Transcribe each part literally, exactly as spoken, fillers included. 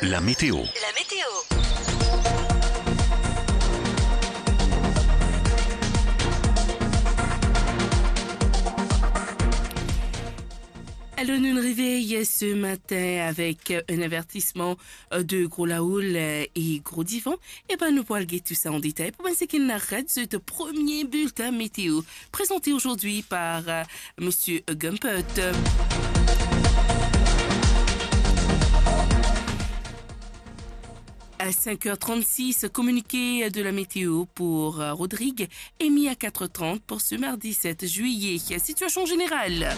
La météo. La météo. Alors, nou revey se matin avek, euh, un avertisman, euh, de gro laoul, euh, e gro divan. E ben, nou pou al get tou sa an detay. Pou bann seki inn rat zot, premie bilten meteo, prezante ozordi par, euh, Monsieur Gumpert. À cinq heures trente-six, communiqué de la météo pour, euh, Rodrigue, émis à quatre heures trente pour ce mardi sept juillet. Situation générale.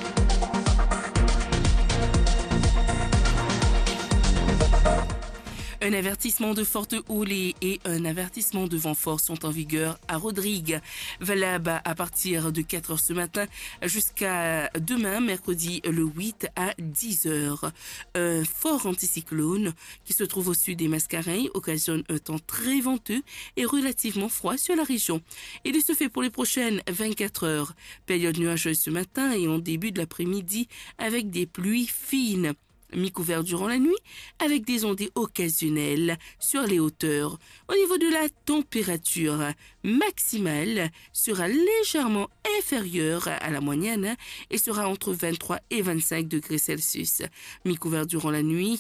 Un avertissement de forte houle et un avertissement de vent fort sont en vigueur à Rodrigue, valable à partir de quatre heures ce matin jusqu'à demain, mercredi le huit à dix heures. Un fort anticyclone qui se trouve au sud des Mascareignes occasionne un temps très venteux et relativement froid sur la région. Et de ce fait, pour les prochaines vingt-quatre heures, période nuageuse ce matin et en début de l'après-midi avec des pluies fines, mi-couvert durant la nuit, avec des ondées occasionnelles sur les hauteurs. Au niveau de la température, maximale sera légèrement inférieure à la moyenne et sera entre vingt-trois et vingt-cinq degrés Celsius. Mi-couvert durant la nuit,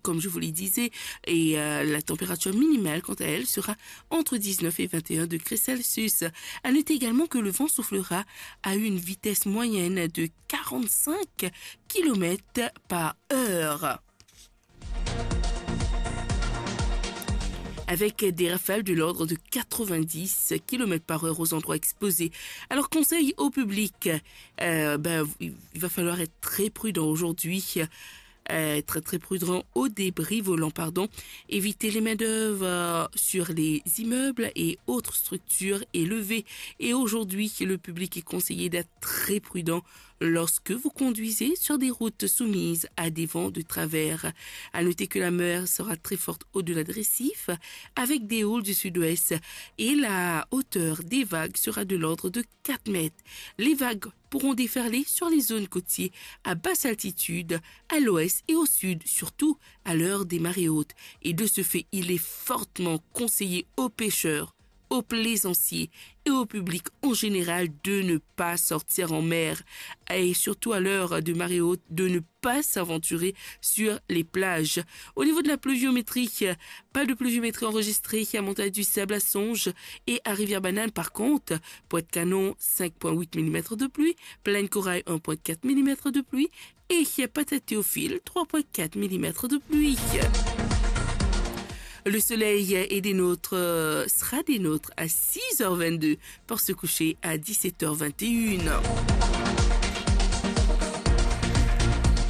comme je vous le disais, et, euh, la température minimale, quant à elle, sera entre dix-neuf et vingt et un degrés Celsius. À noter également que le vent soufflera à une vitesse moyenne de quarante-cinq kilomètres par heure, avec des rafales de l'ordre de quatre-vingt-dix kilomètres par heure aux endroits exposés. Alors, conseil au public, euh, ben, il va falloir être très prudent aujourd'hui, euh, très, très prudent au débris volant, pardon. Évitez les main-d'œuvre, euh, sur les immeubles et autres structures élevées. Et aujourd'hui, le public est conseillé d'être très prudent lorsque vous conduisez sur des routes soumises à des vents de travers. À noter que la mer sera très forte au-delà de récifs, avec des houles du sud-ouest, et la hauteur des vagues sera de l'ordre de quatre mètres. Les vagues pourront déferler sur les zones côtières à basse altitude, à l'ouest et au sud, surtout à l'heure des marées hautes. Et de ce fait, il est fortement conseillé aux pêcheurs, aux plaisanciers et au public en général de ne pas sortir en mer et surtout à l'heure de marée haute de ne pas s'aventurer sur les plages. Au niveau de la pluviométrie, pas de pluviométrie enregistrée à Montagne du Sable, à Songe et à Rivière-Banane. Par contre, Pointe-Canon, cinq point huit millimètres de pluie, Plaine-Corail, un point quatre millimètres de pluie, et Patate-Théophile, trois point quatre millimètres de pluie. Le soleil est des nôtres, euh, sera des nôtres à six heures vingt-deux pour se coucher à dix-sept heures vingt et une.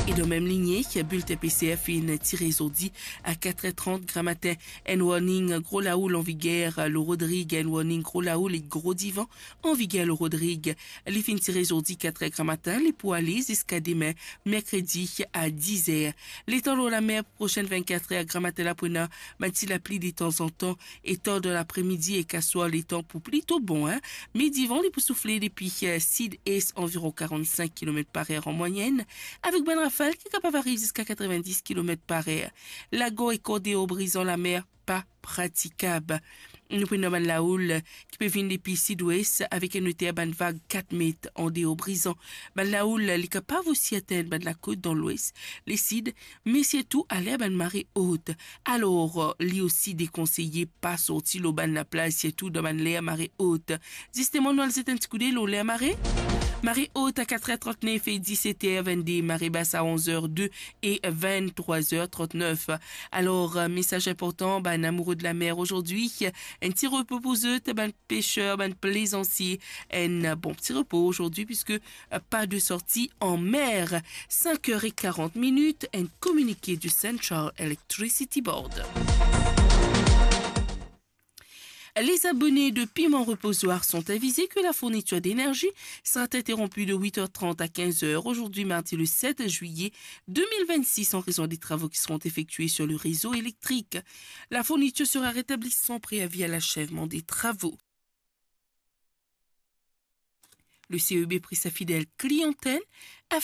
E dan mem linie, bulletin P C R finn tire zordi a quatre heures trente gramatin. Enn warning gro laoul an viger lor Rodrig, enn warning gro laoul e gro divan an viger lor Rodrig. Li finn tire zordi quatre heures gramatin, li pou ale ziska demin, merkredi, a diz er. Letan lor lamer, prosenn vinn-kat er gramatin la pou ena bann ti lapli detanzantan, e tar dan lapremidi ek aswar letan pou plito bon, hein. Me divan, li pou soufle depi, eh, sid-es, anviron karant-sink kilomet par er an mwayenn, avek bann rafal ki kapav ariv ziska katrevinndis kilomet par er. Lagor ek an deor Brizan, lamer pa pratikab. Nou pou ena bann laoul ki pe vinn depi sid-wes avek enn oter bann vag kat met an deor Brizan. Bann laoul li kapav osi atenn bann lakot dan lwes, lesid, me sirtou aler bann mare ot. Alor, li osi dekonseye pa sorti lor bann laplaz, sirtou dan bann ler mare ot. Zisteman, nou al zet enn ti koudey lor ler mare. Mare ot a kat er trant-nef e diset er vinn-de, mare bas a onz er de e vinn-trwa er trant-nef. Alor, euh, mesaz inportan, bann amoure de lamer azordi, enn ti repo pou zot, bann peser, bann plezansier, enn bon ti repo azordi, piske, euh, pa de sorti an mer. Sink er e karant minit, enn kominike de Central Electricity Board. Les abonnés de Piment Reposoir sont avisés que la fourniture d'énergie sera interrompue de huit heures trente à quinze heures aujourd'hui, mardi le sept juillet deux mille vingt-six, en raison des travaux qui seront effectués sur le réseau électrique. La fourniture sera rétablie sans préavis à l'achèvement des travaux. Le C E B prie sa fidèle clientèle à